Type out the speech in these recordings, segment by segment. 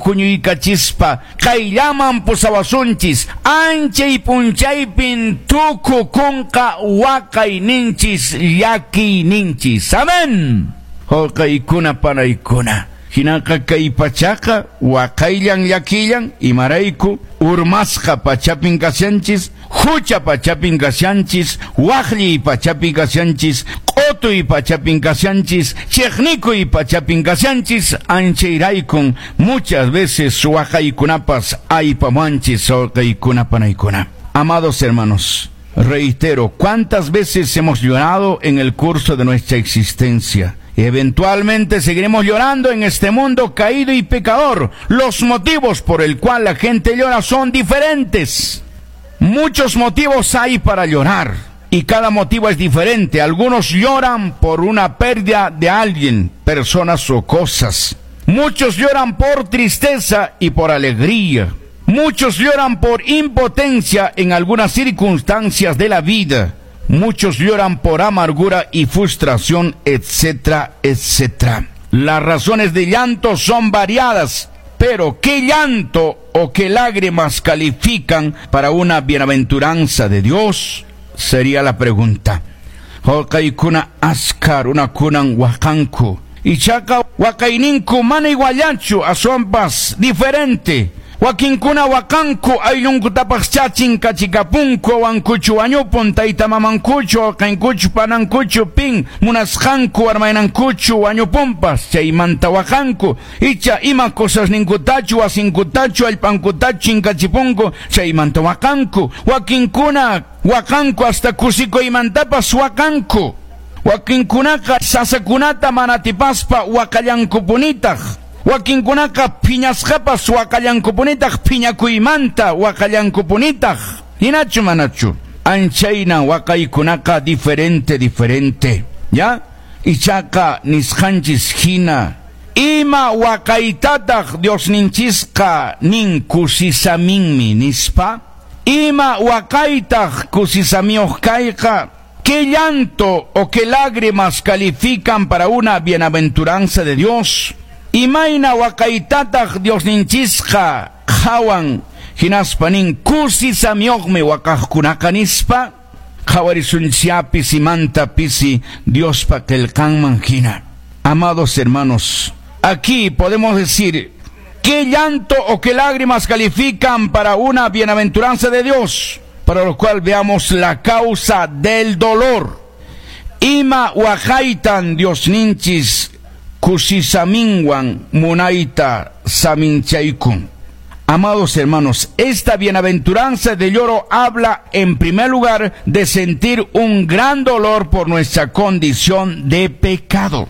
huñuykachispa qayllaman pusawasunchis. Anchay punchaypin tukukunqa waqayninchis llakiyninchis. Amén. Wawqiykuna panaykuna. Hinaqa kay pachaqa waqayllan llakillan, imarayku urmasqa pachapin kashanchis, hucha pachapin kashanchis, waqlliy pachapin kashanchis, q'utuy pachapin kashanchis, chiqnikuy pachapin kashanchis, anchayraykun muchas veces waqaykunapas aypamanchis, wawqiykuna panaykuna. Amados hermanos, reitero, ¿cuántas veces hemos llorado en el curso de nuestra existencia? Eventualmente seguiremos llorando en este mundo caído y pecador. Los motivos por el cual la gente llora son diferentes. Muchos motivos hay para llorar y cada motivo es diferente. Algunos lloran por una pérdida de alguien, personas o cosas. Muchos lloran por tristeza y por alegría. Muchos lloran por impotencia en algunas circunstancias de la vida. Muchos lloran por amargura y frustración, etcétera, etcétera. Las razones de llanto son variadas, pero ¿qué llanto o qué lágrimas califican para una bienaventuranza de Dios? Sería la pregunta. Wawqiykuna, askha runakunan waqanku. Ichaqa waqayninku mana iguallachu, aswanpas diferente. Wakinkuna waqanku ayllunkutapaschá chinkachikapunku, wawankuchu wañupun, tayta mamankuchu, wawqinkuchu, panankuchu, pin munasqanku, warmaynankuchu wañupunpas, chaymanta waqanku. Icha ima cosasninkutachu, wasinkutachu, allpankutachu chinkachipunku, chaymanta waqanku. Wakinkuna waqanku hasta kusikuymantapas waqanku. Wakinkunaqa sasakunata mana atipaspa waqallankupunitaq. Wakinkunaqa phiñasqapas waqallankupunitaq, phiñakuymanta waqallankupunitaq. Hinachu manachu? Anchayna waqaykunaqa diferente, diferente. ¿Ya? Ichaqa nisqanchis hina. Ima waqaytataq Diosninchisqa nin kusisaminmi nispa? Ima waqaytaq kusisamiyuq kayqa? ¿Qué llanto o qué lágrimas califican para una bienaventuranza de Dios? Imayna waqaytataq Diosninchisqa qhawan hinaspa nin kusisamiyuqmi waqaqkunaqa nispa? Qhawarisunchá pisimanta pisi Diospa qillqanman hina. Amados hermanos, aquí podemos decir, ¿qué llanto o qué lágrimas califican para una bienaventuranza de Dios? Para lo cual veamos la causa del dolor. Ima waqaytan Diosninchis kusisaminwan munayta saminchaykun. Amados hermanos, esta bienaventuranza de lloro habla en primer lugar de sentir un gran dolor por nuestra condición de pecado.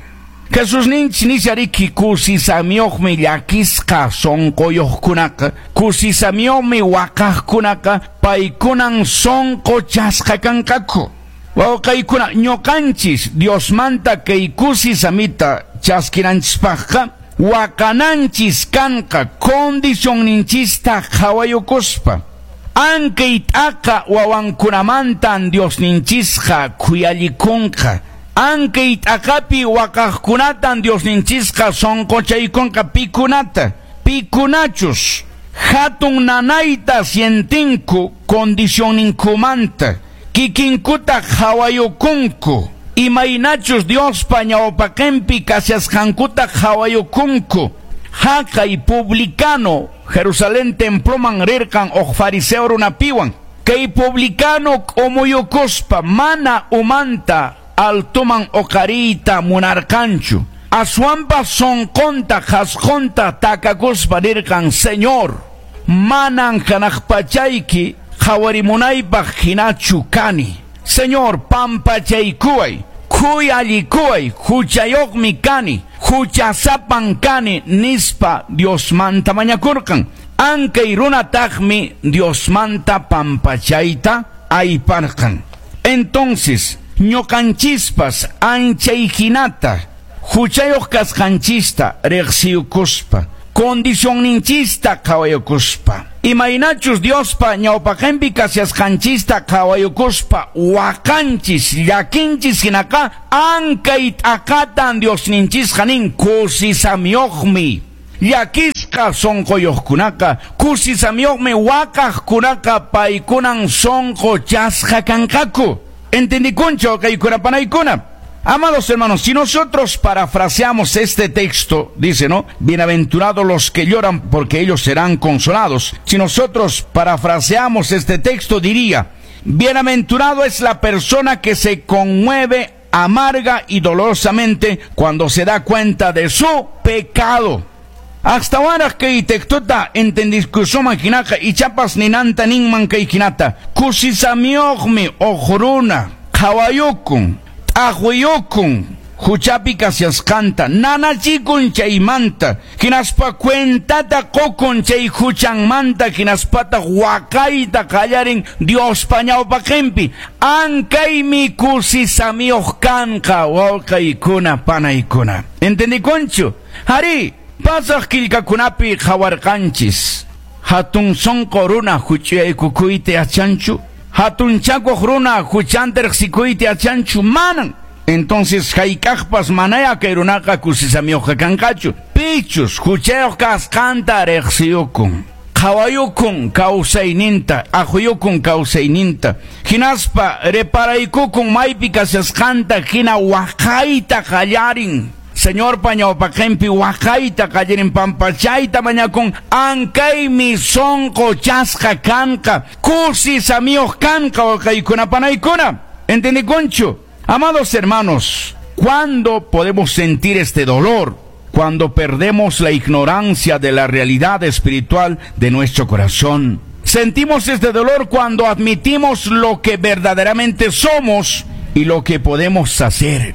Jesusninchis nishariki kusisamiyuqmi llakisqa sunquyuqkunaqa, kusisamiyuqmi waqaqkunaqa, paykunan sunquchasqa kanqaku. Wawqiykuna, ñuqanchis Diosmanta kay kusisamita chaskinanchispaqqa waqananchis kanqa condicionninchista qhawayukuspa. Ankay t'aqa wawankunamantan Diosninchisqa khuyallikunqa. Ankay t'aqapi waqaqkunatan Diosninchisqa sunquchaykunqa pikunata, pikunachus hatun nanayta sientinku condicionninkumanta, kikinkuta qhawayukunku, imaynachus Diospa ñawpaqinpi kashasqankuta qhawayukunku. Haqay publicano Jerusalén temploman rirqan uq fariseo runapiwan. Kay publicano k'umuyukuspa mana umanta altoman uqariyta munarqanchu. Aswanpas sunqunta qhasqunta takakuspa nirqan, Señor, manan hanaq pachayki qhawarimunaypaq hinachu kani. Señor, pampachaykuway, khuyallikuway, huchayuqmi kani, huchasapan kani nispa Diosmanta mañakurqan. Ankay runataqmi Diosmanta pampachayta ayparqan. Entonces, ñuqanchispas anchay hinata huchayuq kasqanchista riqsiyukuspa, condicionninchista qhawayukuspa, imaynachus Diospa ñawpaqinpi kashasqanchista qhawayukuspa waqanchis llakinchis hinaqa ankay t'aqatan Diosninchisqa nin kusisamiyuqmi. Llakisqa Llakisqa sonqoyuqkunaqa, kusisamiyuqmi waqaqkunaqa, paykunan sonqochasqa kanqaku. ¿Entendikunchu, wawqiykuna panaykuna? Amados hermanos, si nosotros parafraseamos este texto, dice, ¿no? Bienaventurados los que lloran, porque ellos serán consolados. Si nosotros parafraseamos este texto, diría: bienaventurado es la persona que se conmueve amarga y dolorosamente cuando se da cuenta de su pecado. Astawanraq kay textota entendikusunman hinaqa, ichapas ninanta ninman kay hinata: kusisamiyuqmi huk runa qhawayukun, t'aqwiyukun huchapi kashasqanta, nanachikun chaymanta, hinaspa cuentata qukun chay huchanmanta, hinaspataq waqayta qallarin Diospa ñawpaqinpi. Ankaymi kusisamiyuq kanqa, wawqiykuna panaykuna. ¿Entendikunchu? Arí, pasaq qillqakunapi qhawarqanchis. Hatun sonqo runa huch'uyaykukuyta yachanchu? Hatunchakuq runa huchanta riqsikuyta yachanchu? Manan. Entonces, hayk'aqpas manaya kay runaqa kusisamiyuqqa kanqachu. Pichus huchayuq kasqanta riqsiyukun, qhawayukun kawsayninta, aquyukun kawsayninta, hinaspa reparaykukun maypi kashasqanta, hina waqayta qallarin. Señorpa ñawpaqinpi waqayta qallarin, pampachayta mañakun, ankaymi sonqochasqa kanqa, kusisamiyuq kanqa, wawqiykuna panaykuna. ¿Entendikunchu? Amados hermanos, ¿cuándo podemos sentir este dolor? Cuando perdemos la ignorancia de la realidad espiritual de nuestro corazón. Sentimos este dolor cuando admitimos lo que verdaderamente somos y lo que podemos hacer.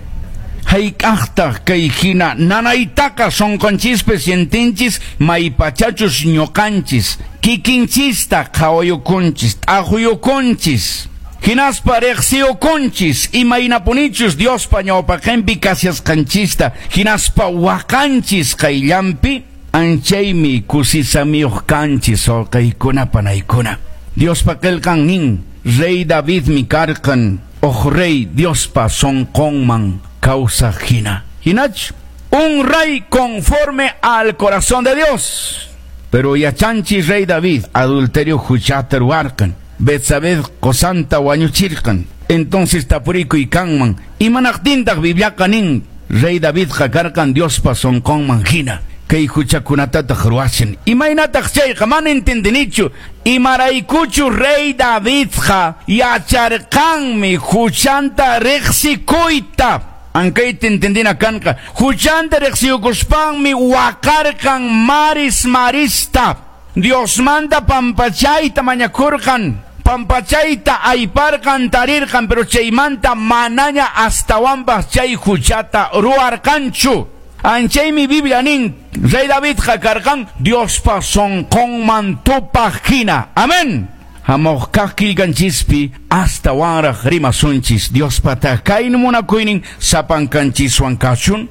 Hayk'aqtaq kay hina nanaytaqa sonqonchispi sientinchis? Maypachachus ñuqanchis kikinchista qhawayukunchis, t'aqwiyukunchis, hinaspa riqsiyukunchis imaynapunichus Diospa ñawpaqinpi kashasqanchista, hinaspa waqanchis qayllanpi, anchaymi kusisamiyuq kanchis, wawqiykuna panaykuna. Diospa qillqan nin, rey Davidmi karqan huk rey Diospa sonqonman kawsaq hina. Hinach, un rey conforme al corazón de Dios. Pero yachanchis, rey David adulterio huchata ruwarqan. Betsabé qusanta wañuchirqan. Entonces tapurikuy kanman: imanaqtintaq Bibliaqa nin rey Davidqa karqan Diospa sonqonman hina, kay huchakunatataq ruwashan? Imaynataq chayqa? Mana entendinichu. Imaraykuchu rey Davidqa yacharqanmi huchanta riqsikuyta. Ankayta entendina kanqa. Huchanta riqsiyukuspanmi waqarqan maris marista. Diosmanta pampachayta mañakurqan. Pampachayta ayparqan, tarirqan, pero chaymanta manaña astawanpas chay huchata ruwarqanchu. Anchaymi Biblia nin, rey Davidqa karqan Diospa sonqonman tupaq hina. Amén. Hamuq kaq qillqanchispi astawanraq rimasunchis. Diospa kaynin munakuynin sapankanchiswan kachun.